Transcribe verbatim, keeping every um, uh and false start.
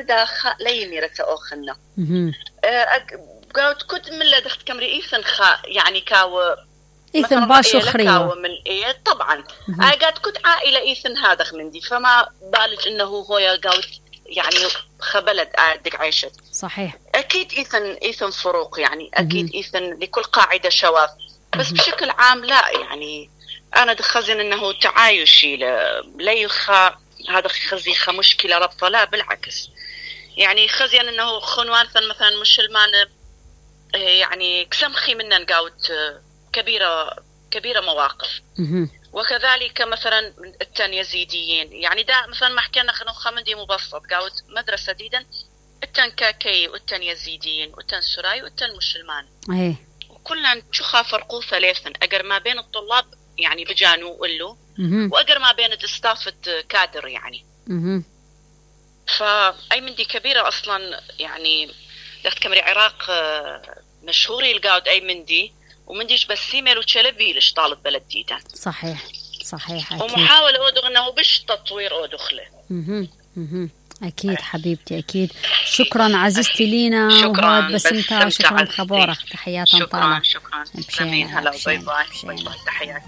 داخل لي ميرة أوخنا قلت كنت من لدخت كمري إيثن خا يعني كاو إيثن باشو خريوة من إيه طبعا قالت كنت عائلة إيثن هذا من دي فما بالج إنه هو قلت يعني خبلت قاعدك عيشت صحيح. أكيد إيثن إيثن فروق يعني أكيد مم. إيثن لكل قاعدة شواذ بس مم. بشكل عام لا يعني أنا دخزن إنه تعايشي لا يخا هذا خزي خا مشكلة ربطة لا بالعكس يعني خزيان إنه خنوان مثلا مش المان يعني كسمخي منا نقاوت كبيرة كبيرة مواقف مم. وكذلك مثلا التن يزيديين يعني دا مثلا ما حكينا خنو خمدي مبسط قاوت مدرسة ديدا التن كاكي والتن يزيديين والتن سراي والتن مسلمان ايه وكلنا نشوفها فرقوا ثلاثا اقر ما بين الطلاب يعني بجانو ولو واقر ما بين استافة كادر يعني مم. فاي من دي كبيرة اصلا يعني دخت كمري عراق مشهوري القاود اي من دي ومن ديش بس سيميل وتشلبي لش طالب بلد جيدا صحيح صحيح أكيد. ومحاولة أودغ أنه بش تطوير أودخله اها اها أكيد حبيبتي أكيد. شكرا عزيزتي لينا شكرا بسمتها شكرا خبارك تحياتي شكرا شكرا شكرا هلا باي باي تحياتي.